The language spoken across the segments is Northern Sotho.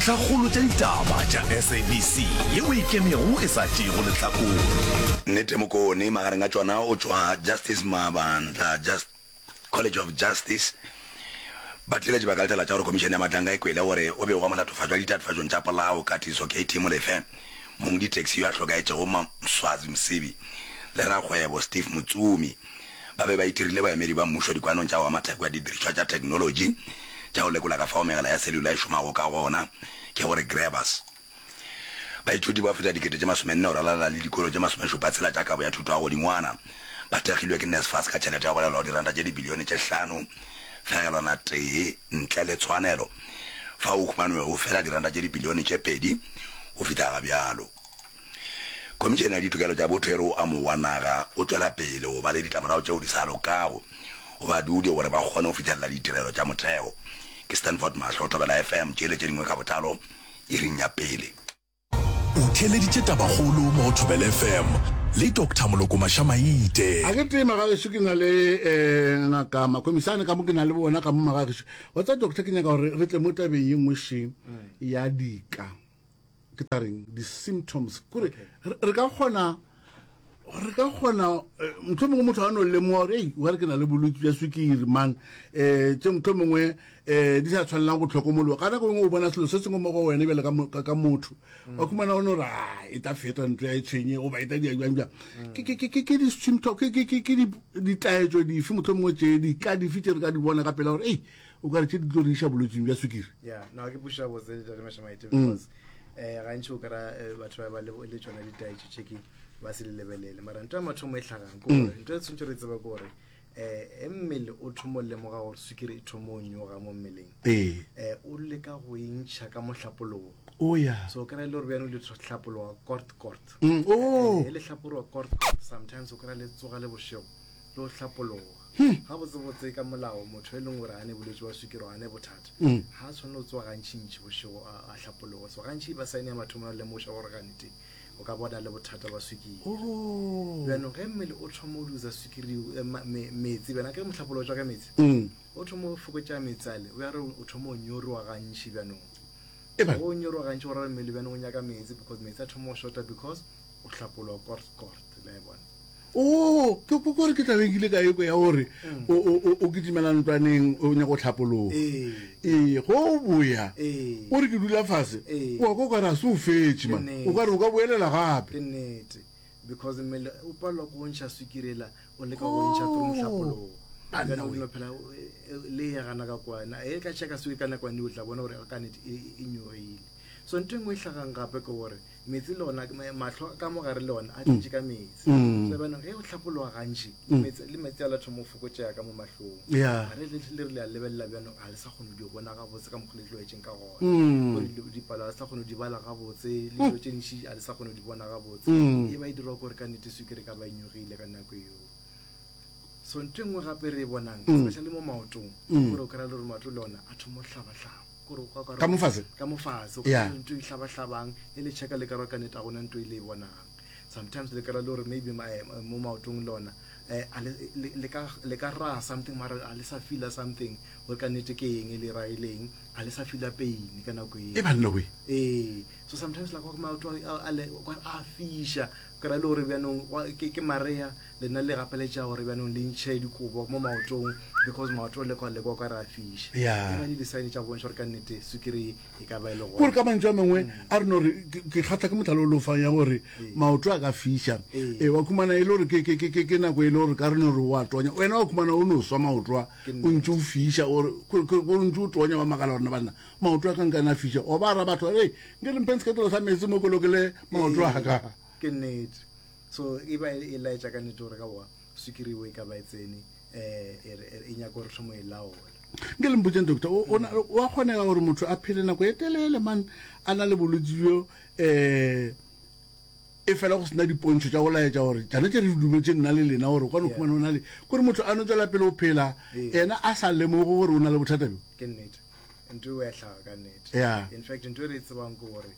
Dintlhakgolo tša ditaba tša SABC yeo e ikemego e sa tšeego lehlakore. Nnete Mokone, magareng a tšona o tšwa Justice Mabandla Just College of Justice. Batheeletši ba ka letela tša gore Khomišene ya Matlanka e kwele gore o begwa molatofatšwa ditatofatšong tša polao, Katiso KT Molefe, mongditaxi yo a hlokaetšego Mswazi Msibi le rakgwebo Steve Motsumi ba be ba itirile baemedi ba mmušo dikwanong tša go ama theko ya didirišwa tša theknolotši tša go lekola ka fao megala ya cellular e šomago ka gona, ke gore grabbers. Baithuti ba feta 40,000 go ralala le dikolo tše masomešupatshela tša kabo ya thuto ya godingwana ba thekgilwe ke NSFAS ka tšhelete ya go balelwa go diranta tše dibilione tše hlano fegelwana tee ntle le tshwanelo fao go humanwego fela diranta tše dibilione tše pedi go fihla ga bjalo. Khomišene ya Ditokelo tša Botho e re o amogwa naga o tšwela pele go ba le ditlamorago tšeo di sa lokago go badudi gore ba kgone go fihlelela ditirelo tša motheo. Ke Stanford Mahlo, Thobela FM, tše le tše dingwe ka botlalo iring ya pele. O theeleditše Tabakgolo mo go Thobela FM le Doctor Moloko Mašamaite. A ke tee magagešo ke na le um ngaka Makomisane ka mo ke na le bona ka mo magagešo. Wa tseba doctor ke nyaka gore re tle mo tabeng ye nngwe še ya dika. Ke tla reng di-symptoms kore re ka kgona re ka kgona eh, mohlomongwe mongwe motho a no lemoga gore ei wa re ke na le bolwetse bja swikiri man um tše mohlho mongwe um di sa tshwanelang go tlhokomologa ka nako engwe o bona selo se sengwe mo go wena bjale ka motho mm. wa khumana o no re a e tla feta ntlo ya e tshwenye goba e tla dia jang jang mm. ke di-symptom ke ditaetso dife mohlho mongwe tše di ka dife tše re ka di bona ka pela gore ei o ka re tše di tlo re iša bolwetsing bja swikiri yeah no ke puša botse ntate Mashamaite mm. because eh gantši o kra eh, batho ba ba le tšona ditaetšo tše ke ba se le lebelele mara ntho ya mathomo e hlagang ke gore mm. ntho e tshwanetse re tseba ke gore eh e mmele o thomo lemoga gore swikiri e thomo o nyoga mo mmeleng ee eh o leka go e ntšha ka mohlapologo o ya so o kry-a le gore bjano le hlapologa kort kort mm, oh. eh, le hlapologa kort kort sometimes o kry-a le tsoga le bošego le go hlapologa Gabotsebotse ka molao motho e leng gore a ne bolwetši bja swikiri a ne bothata ga a tshwanele go tsoga gantšintši bošego a hlapologa. So gantši ba saene ya mathomo ya lemoša gore gante o ka bona le bothata ba swikiri. Bjanong ge mmele o thoma o losa swikiri eh, metsi bjana ke mohlapolo o tšwa ka metsi o thoma o fokotša metsi ale o ya re o thoma o nyoroa gantši bjanong o nyoroa gantši go ra mmele bjanong o nyaka metsi because metsi a thoma o shorta because o hlapologa kort kort la e bona. Oo, ke ke gore ke tla be nkile ka ekwe ya gore mm. o o o kitimela ntlwaneng o nyaka go tlhapologa. Ee. Ee, go o boya. Ee. O re ke dula fase. Ee. O kwa o ka re a se o fetše man. O ka re o ka boelela gape. Ke nnete. Because mmele o palelwa ke go ntšha swikiri ela o leka go ntšha through mohlapologo. Banna o we. no phela le ya gana ka kwana. E ka checka swikiri ka nako o tla bona gore ka nnete e e nyogile. So ntho e nngwe e hlagang gape ke gore Metsi le ona, mahlo ka mo gare le ona a tletše ka metsi. Mm. So jaanong ge o hlapologa gantši, Mm. metsi le metsi a la thoma go fokotšega ka mo mahlong. Yeah. Ga re le le re le a lebelela bjanong ga le sa kgone go di bona gabotse ka mokgwa le tlwaetšeng ka gona. Mm. Gore dilo- dipalo ga le sa kgone go di bala gabotse, le dilo tše ntši ga le sa kgone go di bona gabotse. Mm. E ba e dirwa ke gore ka nnete swikiri e ka ba e nyogile ka nako eo. So ntho e nngwe gape re e bonang, Mm. especially mo maotong, Mm. gore o kry-a le gore maoto le ona a thoma go hlabahlaba. Gore o kwa Ka mo fase? Ka mo fase. O Yeah. kry-a ntho e hlabahlabang, e le checka le kry-a ka nnete a gona ntho e le e bonang. Sometimes le kry-a le gore maybe ma- eh, mo maotong le ona eh, a le- le le ka le ka raha something mara a le sa feela something gore ka nnete ke eng e le raileng, a le sa feela pain ka nako eo. E banna we. Ee, so sometimes like maoto a a le o kare a fiša, kry-a le gore bjanong wa- ke ke marea lena le gapeletša gore bjanong le ntšhe dikobo mo maotong because maoto le kwa le kwa ka re a fiša. Yeah. E ba le di-sign tša go bontšha gore ka nnete sukiri e ka ba e le gona. Kore ka mantšu a mangwe a re no re ke ke kgatha ke mohlala o le o fang ya gore maoto a ka fiša. Ee. Ee, wa khumana e le gore ke ke ke ke ke nako e le gore ka re no re o a tonya. Wena wa khumana o no swa maoto a o ntše o fiša o re o ntše o tonya wa makala gore na banna maoto a ka nkane a fiša. Wa ba araba batho ba re, Nke le mpheng seketlelo sa meetse mo ke lokele maoto a ka. Ke nnete. So e ba e laetša ka nnete gore ka boa swikiri eo e ka ba e tsene um e nyaka gore thomo e laola. Nke le mpotseng doctor, o, o, wa kgonega gore motho a phele nako e telele man a na le bolwetsi bjo um e fela go sena dipontšho tša go laetša gore tšana tše re di dumetše nna le lena gore o ka no khumana o na le kore motho a no tswela pele o phela yena a sa lemoge gore o na le bothata bjo? Ke nnete, ntho eo ya hlaga ka nnete. Yeah. In fact ntho e re e tsebang ke gore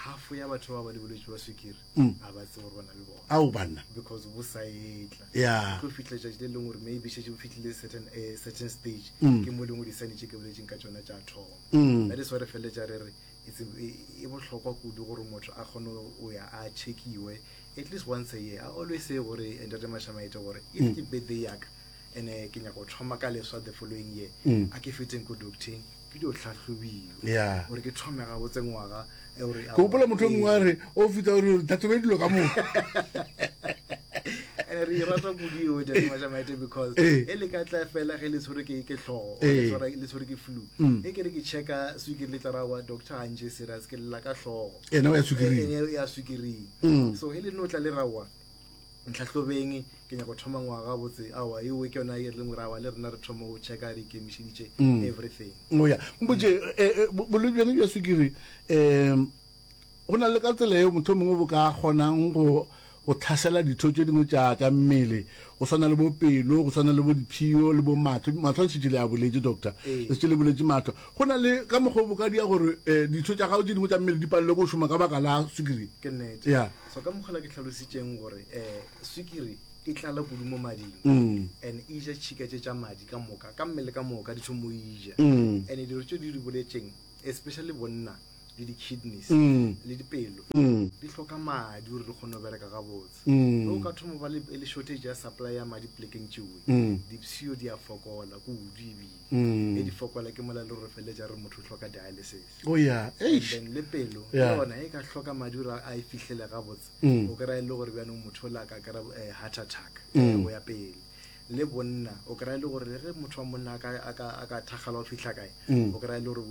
half ya batho ba ba le bolwetši bja swikiri ga ba tsebe gore ba na le bona. Ao banna. Because bo sa etla. Yeah. Tlo fihla tšatši le lengwe gore maybe šetše bo fihlile certain, eh, certain stage. Ke mo e leng gore di-sign tše ke boletšeng ka tšona tša thoma. That is why re feleletša re re. It's e, e bohlokwa kudu gore motho a kgone go ya a checkiwe at least once a year. I always say gore eh, Ntate Mashamaite gore if mm. ke birthday ya ka and eh, ke nyaka go thoma ka leswa the following year mm. a ke feteng ko docteng ke dio tlhahlobiwa gore ke thome gabotse ngwaga eh, ke gopola motho o mongwe a re o fita gore tlhatlhobe dilo ka moka and re e rata kudu eo Ntate Mashamaite because e le ka tla fela ge le tshwere ke ke tlhogo le tshwere ke flu mm. e ke re ke checka swikiri le tla ra wa doctor ga ntše serious ke lela ka hlogo ena ya swikiring ene ya swikiring mm. so e le no tla le rawa ntlhahlobeng ke nyaka go thoma ngwaga botse awa ewe ke yona e re leng rawa le rena re thoma go checka re ikemišeditše mm. everything oya mpotse eh, eh, bolwetse bjone bja swikiri um Go na le ka tsela yeo mohlomongwe bo ka kgonang go go tlhasela ditho tše dingwe tša tša mmele, go swana le bo pelo, go swana le bo diphio le bo mahlo. Mahlo a šetše le a boletše, doctor. Le šetše le boletše mahlo. Go na le ka mokgwa o bo ka dia gore eh, ditho tša gago tše dingwe tša mmele di palelwe ke go šoma ka baka la swikiri. Ke nnete. Yeah. So ka mokgwa la ke hlalositšeng gore eh, swikiri e tlala kudu mo mading mm. and e ja tšhika tše tša madi ka moka ka mmele ka moka di thomo e ja mm. and dilo tše di di boletšeng especially bonna le di-kidneys mm. le dipelo mm. di hloka madi gore di kgone go bereka gabotse mm. o ka thoma ba le shortage ya supply ya madi polekeng tšewe mm. dipshio di a fokola kudu ebile mm. e di fokola ke mola le gore feleletša re motho o hloka dialysis oh, yeah. And then le pelo le yona e ka hloka madi gore a e fihlele gabotse mm. o kry-a e le gore bjanong motho o la ka kry eh, heart attack mm. go ya pele Le bonna, o kry-a e le gore le ge motho wa monna a ka, a ka, a ka thakgala go fihla kae, mm. o kry-a e le gore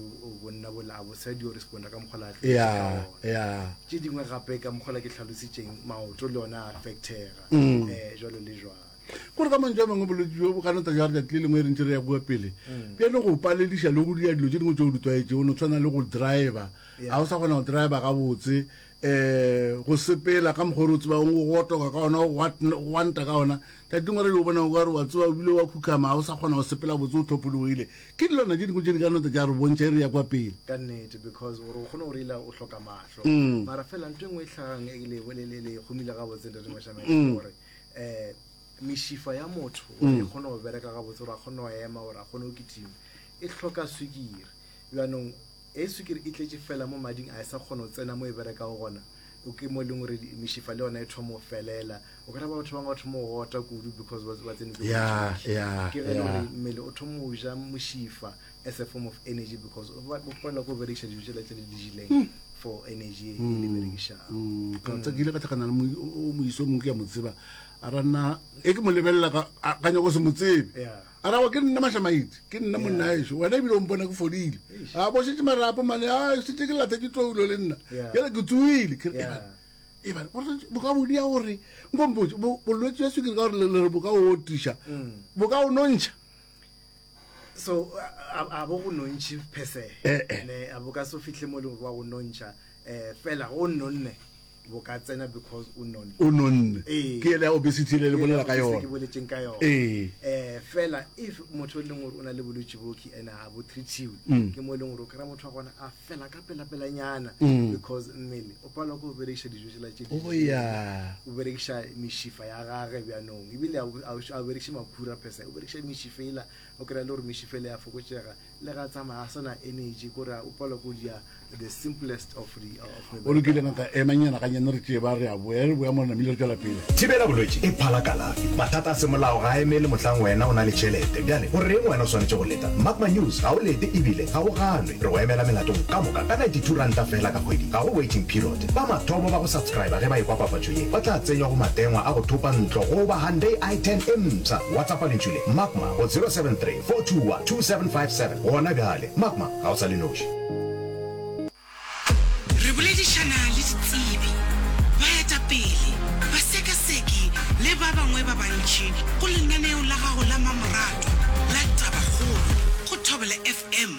bonna bola a bo sa dio responda ka mokgwa la yeah, yeah. Tše dingwe gape ka mokgwa la ke tlhalositšeng, maoto le ona a affectega mm. eh, jwalo le jwalo. Gore ka mantšu a mangwe bolwetse bjo bo ka no tla jwa letšatši le lengwe re ntše re ya kua pele mm. bjale go palediša le go dira dilo tše dingwe tše o di tlwaetšego no tshwana le go driver ga o sa kgona go driver gabotse um go sepela ka mokgwa o re o tsebang go otoka ka ona go gwanta ka ona tšatši lengwe re yo bona o ka re wa tseba o bile wa khukhama ga o sa kgona go sepela botse o tlhophologile ke dilwana tše dingwe tše di ka nota tša re bontšha e re ya kwa pele ka nnete because gore o kgone go reila o hloka mahlo mm. mara fela ntho e nngwe e tlhagang e le le le gomile gabotse ntate Mashamela mm. gore um mešifa ya motho gore e mm. kgone go bereka gabotse gore a kgone go ema gore a kgone go kitima e hloka swikiri bjanong E swikiri e tletše fela mo mading a e sa kgona go tsena mo e berekago gona, o ke mo e leng gore mešifa le yona e thoma go felela. O kry-a ba batho bangwe ba thoma go ota kudu because ba ba tsene ke Yeah, yeah, Ke ge e le gore yeah. mmele o thoma go ja mošifa as a form of energy because o ba- o palelwa ke go berekiša dijo tšela tse le di jeleng for energy e le berekišago. Mm, ka tsa ke ile ka tlhakana le mo- o moiso o mongwe ke a mo tseba a ra nna e ke mo lebelela ka a- ka nyako se mo tsebe Yeah. A ra, Ke nna Mahlamaitse, ke nna monna ešo. Wena ebile o mpona ke fodile. A bo šetše marapo mane, a šetše ke lathetše toulo le nna. Bjale ke tsoile. Ke re, Ebane, bo ka bo dia gore, nko mpotše, bolwetši bja swikiri ka gore le re bo ka o otiša, bo ka o nontšha? So, a bo go nontšhe per se. Ne, a bo ka se fihle mo e leng gore wa go nontšha. Fela go nonne. bo ka tsena because o nonne. O nonne. Ee. Ke ele ya obesity le le bolela ka yona. Ke boletseng ka yona. Ee. Eh fela if motho e leng gore o na le bolwetse bo ki ene a bo treatiwe mm. ke mo e leng gore o kry motho wa gona a fela ka pela pela nyana mm. because mmele o palelwa ke go berekiša dijo tšela tše oh, yeah. o berekiša mešifa ya gage bjanong ebile a berekiše makhura phesa o berekiša mešifa ela o kry-a le gore mešifa ele ya fokotšega Le ga tsamaya a sena energy kore o palwa ko dia the simplest of the of O lokile ngaka ema nyana ga nyane re tšee ba re a boya re boya mo re namile re tšwela pele. Thibela bolwetši e phala kalafi. Mathata a semolao ga a emele mohlang wena o na le tšhelete. Bjale go reng wena o swanetše go leta? Magma News ga o lete ebile ga o ganwe. Re go emela melatong ka moka ka R92 feela ka kgwedi. Ga go waiting period. Ba mathomo ba go subscriber ge ba ekwa papatšo ye ba tla tsenywa go matengwa a go thopa ntlo goba Hyundai i10 e mpsha. WhatsAppa lentšu le, Magma go 073 421 2757 gona bjale. Magma, ga o sa le noši. Re boledišana le ditsebi, baetapele, basekaseki le ba bangwe ba bantši go lenaneo la gago la mamoratwa la Tabakgolo go Thobela FM,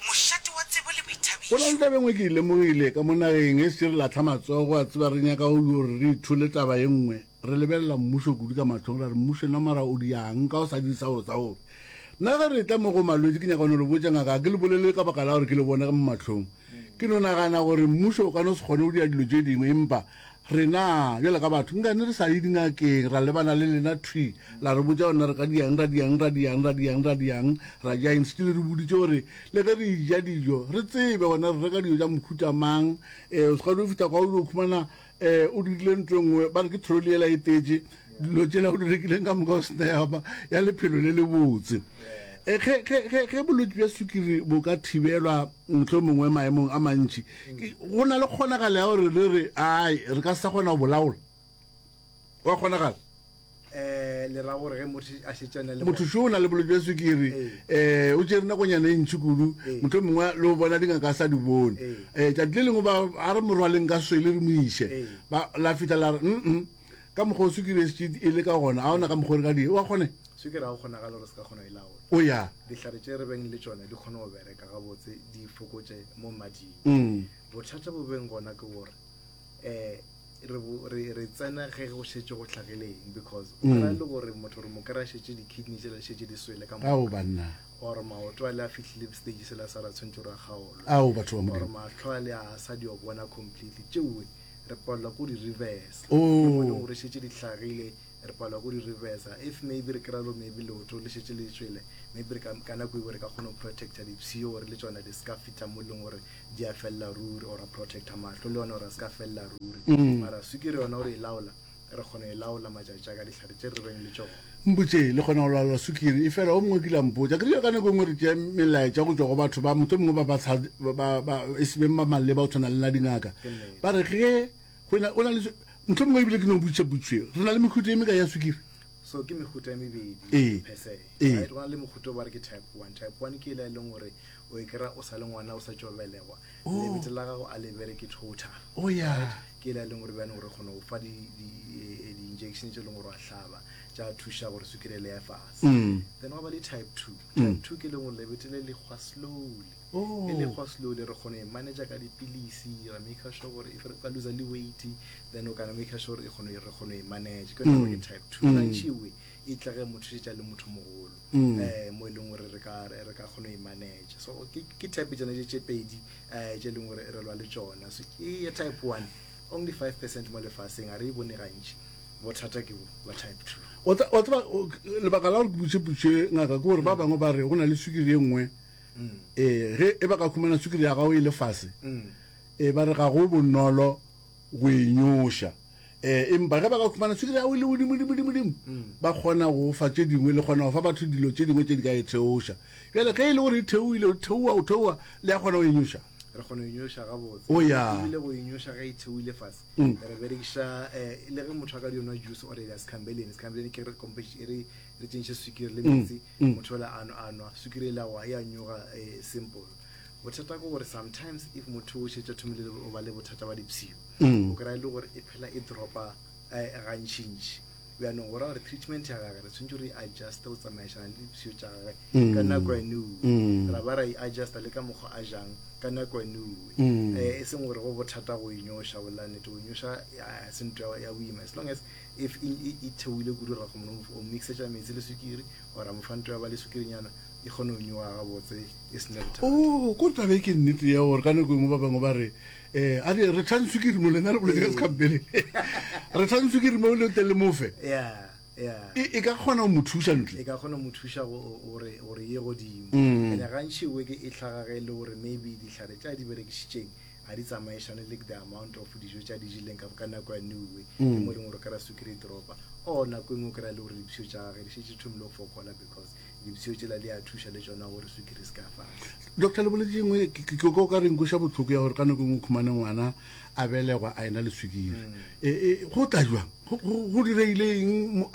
mošate wa tsebo le Go na le boithabišo. taba e nngwe ke e lemogile ka mo nageng, e se re lahla matsogo, wa tseba re nyaka gore re ithole taba e nngwe. Re lebelela mmušo kudu ka mahlong, ra re mmušo nna mara o diang ka o sa dire sa gore sa gore. Nna ge re etla mo go malwetši ke nyaka go no le botša ngaka, ga ke le bolele ka baka la gore ke le bone mo mahlong. Ke no nagana gore mmušo o ka no se kgone go dira dilo tše dingwe empa Rena, bjalo ka batho, nkane re sa ye dingakeng, ra lebana le lena thwi, la re botša gore na re ka diang, ra diang, ra diang, ra diang, ra diang, ra ja eng. Still re boditše gore le ge re eja dijo, re tsebe gore na re reka dijo tša mohuta mang. Um o se ka dio fihla kwa o dio khumana um o dirile ntho e nngwe, ba re ke trolley yela e tetše dilo tšela o di rekileng ka moka o sena ya ba ya lephelo le lebotse. Um ge, ge, ge, ge bolwetši bja sukiri bo ka thibelwa mohlomongwe maemong a mantši, go na le kgonagalo ya gore re re ai re ka se sa kgona go bolaola wa kgonagala eh le ra gore ge motho a šetšana le motho šo o na le bolwetse bja sukiri um o tšere nakonyana e ntšhi kudu motho mongwe le o bona dingaka a sa di bone um tšatši le lengwe ba a re morwaleng ka swele re mo iše la fitlha la re mm ka mokgwa o sukiri e šetše e le ka gona a ona ka mokgwa o re ka di wa kgone sukiri ga o kgonagale gore se ka kgona e laola o ya dihlare tše re beng le tšona di kgone go bereka gabotse di fokotše mo mading mm. bothata bo beng gona ke gore um re, re tsena ge go šetše go hlagileng because o kry-a mm. le gore motho re mo kry-a šetše di-kidney tšela šetše di swele ka ao banna or maoto a le a fihlile stage sela sa ra tshwanetse gore a kgaolwe ao batho ba or mahlo a le a sa di bona completely tšeoe re palelwa ko di-reverse oh. gore šetše di hlagile Re palelwa ko di reversa. If maybe re kry-a lo maybe leoto le šetše le tšwele, maybe re ka, ka nako eo re ka kgona go protecta dipshio gore le tšona di ska fihla mo e leng gore di a felela ruri, or ra protecta mahlo le yona gore a ska felela ruri. Mara sukiri yona gore e laola, re kgona e laola matšatši a ka dihlare tše re beng le tšona. Mpotše, le kgona go laola sukiri? Efela o mongwe o kile a mpotša, ke rile ka nako e nngwe re tšea melaetša go tšwa go batho ba mohlomongwe ba ba, ba, ba, e se beng ba maleba go tshwana le na dingaka. Ba re ge Go na, o na le, mohlomongwe ebile ke no botšiša potšišo ye, re na le mehuta e mekae ya sukiri? So ke mehuta e mebedi Ee. per se. Ee. Right? Go na le mohuta o ba re ke type 1. Type 1 ke ela e leng gore o e kry-a o sa le ngwana o sa tšo belegwa. Oh. Lebete la gago a le bereke total. Oh, yeah. Right? Ke ela e leng gore bjane gore kgona go fa di-injection tše e leng gore wa hlaba tša thuša gore sukiri ele ya fase. Then gwa ba le type 2. Type 2 ke e leng gore lebete le le hwa slowly. Oh. E le hwa slowly re kgona e manager ka dipilisi ra make sure gore if re ka loser le weight then o kana make sure e kgona re kgona e manage ke yona ke type 2 mm. gantši we e tla ge motho šetša le motho mogolo mm. eh mo e leng gore re ka re ka kgona e manage so ke ke type tsena tše pedi eh tše leng gore re lwa le tšona so e ya type 1 only 5% mo lefaseng a re e bone gantši bothata ke bo ba type 2 wa tseba lebaka la gore ke butše putše ngaka ke gore ba bangwe ba re go na le sukiri e nngwe Ee, ge e ba ka khumana sukiri ya gago e le fase, ee, ba re ga go bonolo go e nyoša. Ee, empa ge ba ka khumana sukiri ya gago e le godimo, dimo, dimo, dimo, ba kgona go fa tše dingwe, le kgona go fa batho dilo tše dingwe tše di ka e theoša. Bjale ge e le gore e theoile, o theoa, o theoa, le ya kgona go e nyoša? Re kgona go e nyoša gabotse. O ya. Ebile go e nyoša ge e theoile fase, re berekiša, le ge motho a ka dio nwa juice or ya sekhambelene, sekhambelene ke re e re re tšentšhe sukiri le metsi, motho ola a nwa, a nwa sukiri ela wa ya nyoga eh, simple bothata ke gore sometimes if motho o šetše thomile o ba le bothata ba dipshio mm. o kry-a e le gore e phela e dropa eh, gantšintši bjanong go ra gore treatment ya gage re tshwanetse re adjuste go tsamaišana le dipshio tša gage mm. ka nako ya newe mm. ra ba ra e adjusta le ka mokgwa a jang ka nako ya newe um e seng gore go bothata go inyoša bolanete go inyoša se ntho ya boima as long as if e, e, e theoile kudu ra kgona go mixetša metsi le sukiri or a mo fa nto ya ba le sukirinyana e kgone go nyoga gabotse e se ne bothata. Oh, ko taba e ke nnete ya gore ka nako e nngwe ba bangwe ba re um a re re tlhang sukiri mo lena re boletse ka sekhampele re tlhang sukiri mo le tle le mofe yeah yeah e, e ka kgona go mo thuša ntle e ka kgona go mo thuša gore gore ye godimo mm. ene gantši we ke e tlhaga ge e le gore maybe dihlare tša di berekišitšeng ga di tsamaišane le the amount of dijo tša di jeleng ka, ka nako ya newe ke mm. mo e leng gore o kry-a sukiri e dropa or nako e nngwe o kry-a le gore dipshio tša gage di šetše thomile go fokola because dipshio tšela di a thuša le tšona gore sukiri se ka fase doctor le boletse engwe ke ko ka reng kweša botlhoko ya gore ka nako e nngwe khumane ngwana a belegwa a ena le sukiri mm. e, e, go tla jwang go direile eng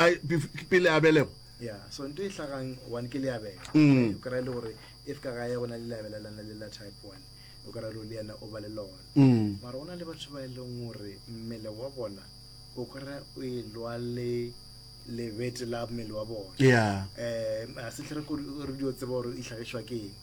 pele a belegwa ya so nto e hlagang one ke leabela mm. o kry-a le gore if ka gae go na le leabela lana le la type one o ka ra le yena o ba le lona mm. mara go na le batho ba e leng gore mmele wa bona o kry o e lwa le lebete la mmele wa bona yeah. um a se tlhe re dio tseba gore e tlhagišwa ke eng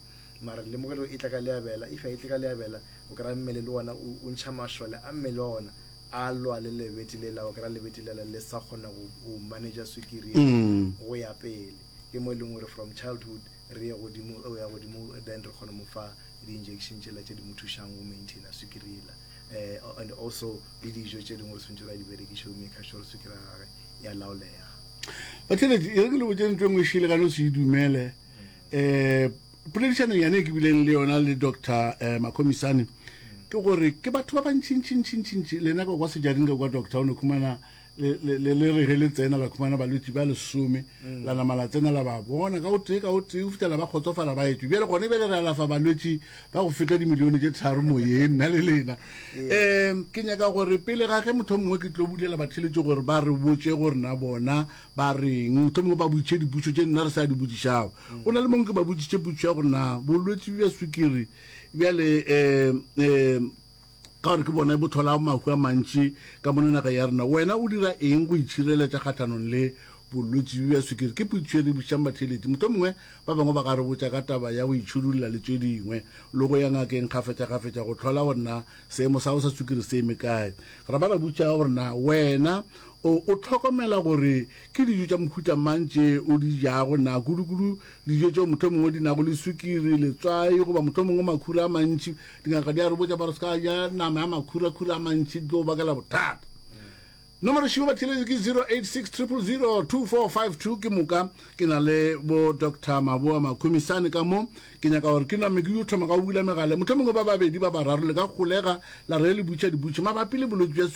mara lemogelo e tla ka leabela if a e tle ka leabela o kry-a mmele le ona o ntšha mašole a mmele wa ona a lwa le lebete le la o kry-a lebete lela le sa kgona go manager swikiri mm. go ya pele ke mo e leng gore from childhood re ye godimo o ya godimo then re kgone mo fa di-injection tšela tše di mo thušang go maintaina swikiri ela. Um and also le dijo tše dingwe re tshwanetse gore a di berekiše go maker sure sukiri ya gage ya laolega. Batheeletši, e re ke le botše ntho e nngwe šele ka no se e dumele. Um poledišanong yane e ke bileng le yona le Doctor eh, Makhomisane ke gore ke batho ba bantšintšintšintšintši lena ka kwa sejareng ka kwa doctor o ne khumana le le le re ge le tsena la khumana balwetši ba lesome mm. la nama la tsena la ba bona ka o tee ka o tee o fihla ba kgotsofala ba etšwe bjale gone bjale re alafa balwetši ba go feta dimilione tše tharo moyeng nna le lena um ke nyaka gore pele ga ge motho mongwe ke tlo bulela batheletši gore ba re botše gore na bona ba reng motho mongwe ba botšiše dipotšo tše nna re sa di botšišago o na le mongwe ke ba botšiše potšo ya gore na bolwetši bja sukiri bjale um um ka gore ke bona bo tlhola mahu a mantši ka mono naga ya rena wena o dira eng go itšhireletša kgahlanong le bolwetši bja sukiri ke potšišo e re botšišang batheeletši mohlomongwe ba bangwe ba ka re botša ka taba ya go itšhidulla le tše dingwe le go ya ngakeng kgafetšakgafetša go hlola gore na seemo sa gago sa sukiri se eme kae ra ba ra botša gore na wena o o hlokomela gore ke dijo tša mohuta mang tše o di jago na kudukudu dijo tšeo mohlomongwe di nago le sukiri, letswai goba mohlomongwe makhura a mantši. Dingaka di a re botša ba re se ka ja nama ya makhurakhura a mantši, di tlo go bakela bothata. Nomoro šibo batheeletši ke 086 000 2452. Ke moka ke na le bo Doctor Maboa Makhumisane ka mo. Ke nyaka gore ke name ke yo thoma ka go bula megala. Mohlomongwe ba babedi ba bararo le ka golega la re le butša dipotšišo mabapi le bolwetši bja.